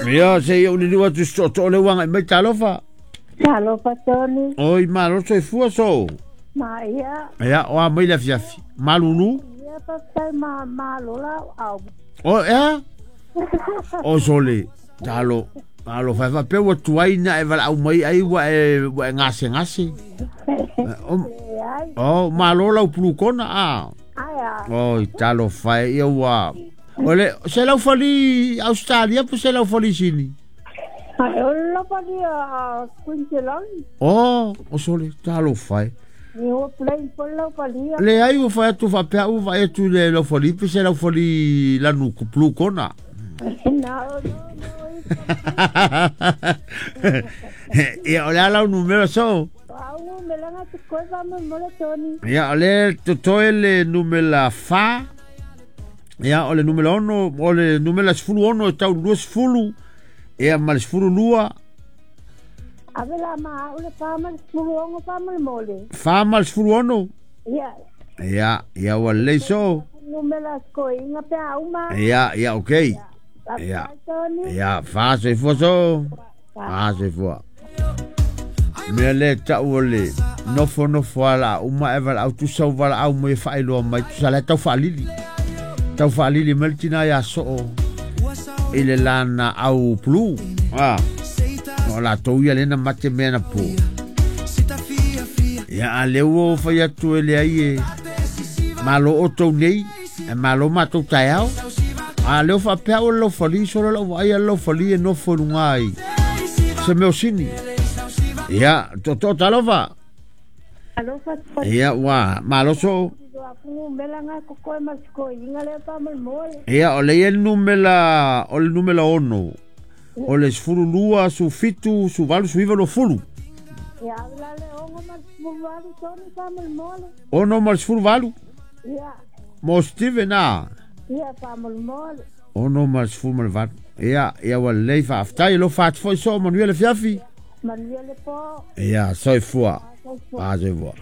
Ia se i ou liliu atu i se tootoo lea ua agai mai. Talofa. Talofa Tony. Oi, malo soifua so. Ma ia. Ia, o a mai le afiafi. Malulu. Ia faafetai ma malo la au. O ea? O sole. Talo. Alo fai fa pe ua tuai na e valaau mai ai ua e gase gase. O, malo lau pulukona a. Oi, talofa e ia ua. O le, se lau fali Australia po se lau fali Sini? Ai, o le fali a Queensland. O, o sole, talofa e. Ua plane po lau fali. Le ai ua fai atu faapea ua vaai atu le lau fali pe se lau fali lanu pulukona. No, no, no. Ia, o le ala o numera so. Au melanga te koe fa mo mo le Tony. Ia, o le totoe le numera 4. Ia, o le numera 6, o le numera 16 e tau 20. Ia, ma le 12. Ave la ma au le fa ma le 16 fa mo le mole. 4 ma le 16. Ia. Ia, ia ua lelei so. Numera koinga pe au ma. Ia, ia, okay. Ia. Ia, fa soifua so. Fa soifua. Mea le tau o le nofo nofo ala uma e valaau tusa u valaau mai e faailoa mai tusa le tau faalili. Tau faalili mai le tina ia soo i le lana au pulu. Ah. No la tou ia lena mate mea na po. Ia a le ua o fai atu e le ai e malo o tou nei, e malo matou taeao. A leo faapea o le laufali solo lau vaai a le laufali e nofo i luga ai se mea o sini. Ia, tootoo talofa. Alofa. Ia, ua malo soo. Ia, o le ia le numera, o le numera 6. O le 12, 17, 18, 19, 20. Ia, la le ongo ma le 18 tonu fa mo le mole. 6 ma le 18. Ia. Mo Steven a. Ia fa mo le mole. 6 ma le 18. Ia, ia ua lelei faafetai lo faati foi soo manuia le fiafi. Manuia le po. Ia, soifua. Ah, soifua.